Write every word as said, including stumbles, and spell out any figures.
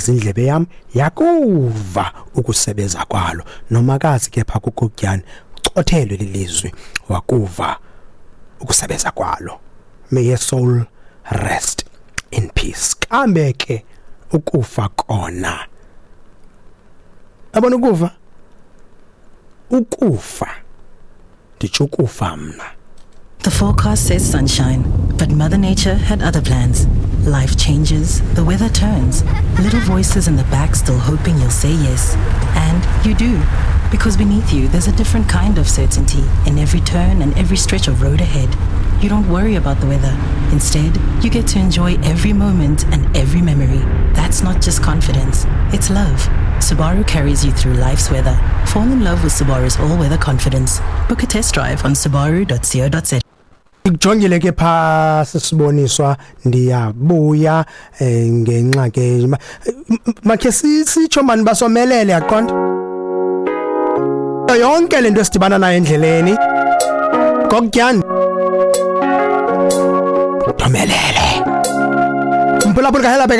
Yazi indlebe yam yakuva ukusebeza kwalo. Nomakazi ke pha kuGogyane ucothelwe lilizwi, wakuva ukusebeza kwalo. May your soul rest in peace. Kambe ke ukufa kona, yabona ukufa, ukufa nditsho ukufa mna. The forecast says sunshine, but Mother Nature had other plans. Life changes, the weather turns, little voices in the back still hoping you'll say yes. And you do. Because beneath you, there's a different kind of certainty in every turn and every stretch of road ahead. You don't worry about the weather. Instead, you get to enjoy every moment and every memory. That's not just confidence, it's love. Subaru carries you through life's weather. Fall in love with Subaru's all-weather confidence. Book a test drive on subaru dot co dot za. Ikujongile ke pha sisiboniswa, ndiyabuya eh, ngenxa ke makhe sitsho mani basomelele, yaqonda yonke lento esidibana nayo endleleni. Gokutyani thomelele, mphulaphula kahela.